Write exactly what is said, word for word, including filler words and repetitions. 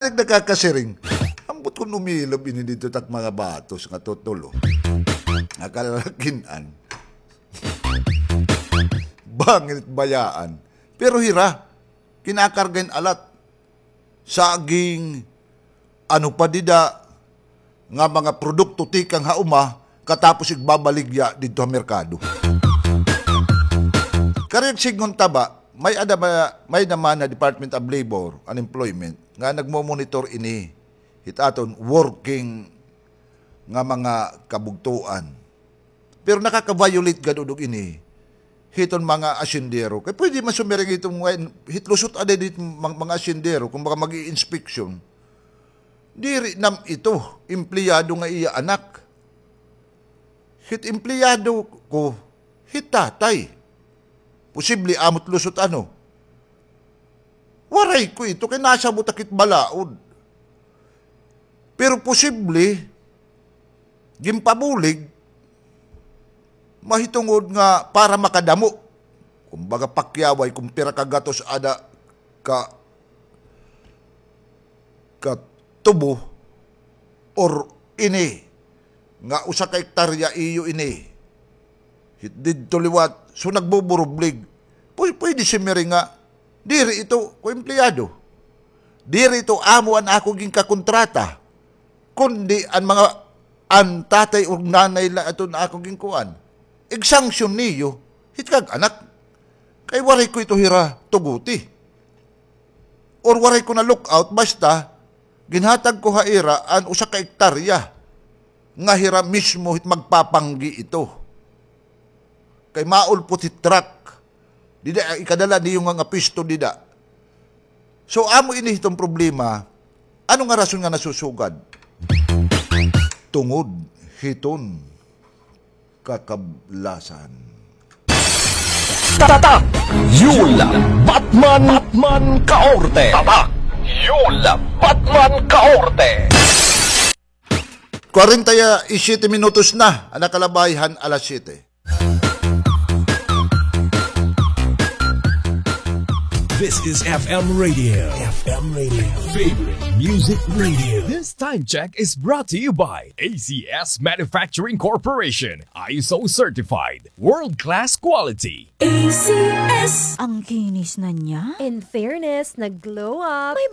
Nakakasiring. Ambot kon umilob ini didto tak mga batos nga tutulo. Nga kalalakin-an. Bangin it bayaan. Pero hira, kinakarga hin alat. Saging, ano pa dida, nga mga produkto tikang ha uma, katapos igbabaligya didto ha merkado. Karuyag sidngon ta ba, may ada ba, may naman na Department of Labor and Employment nga nagmo-monitor ini hit aton working nga mga kabugtoan. Pero nakaka-violate gad udog ini hiton mga asyendero. Kay pwede man sumiring hiton mga, hit lusot ada dit mga, mga asyendero, kung baka mag-i-inspeksyon. Diri nam ito, empleyado nga iya anak. Hit empleyado ko, hit tatay. Posible amo it lusot ano. Waray ko ito kay nasabot ak hit balaod. Pero posible, ginpabulig, mahitungod nga para makadamo. Kumbaga, pakyaway kung pira ka gatos ada ka, ka tubo or ini nga usa ka ektarya iyo ini. Hit didto liwat, so nagbuburublig. Pwe-, pwede simiring nga, diri ito ko empleyado. Diri ito amo an ako ginkakontrata. Kundi an mga, an tatay ug nanay la aton ako ginkuan. Igsanksyon niyo, hit kag anak. Kay waray ko ito hira tuguti. Or waray ko na-lookout, basta ginhatag ko ha ira an usa ka ektarya nga hira mismo hit magpapanggi ito. Kay maulpot hit truck. Dida, ikadala niyo nga, nga pwesto dida. So, amo ini hiton problema. Ano nga rason nga nasusugad? Tungod hiton kakablasan. Tatak Yul Batman, Batman Kaorte. Tatak Yul Batman Kaorte. Kwarenta y siyete minutos na an nakalabay han alas siyete. This is F M Radio. F M Radio. Favorite music radio. This time check is brought to you by A C S Manufacturing Corporation. I S O certified. World class quality. A C S. Ang kinis na niya. In fairness, nag-glow up. May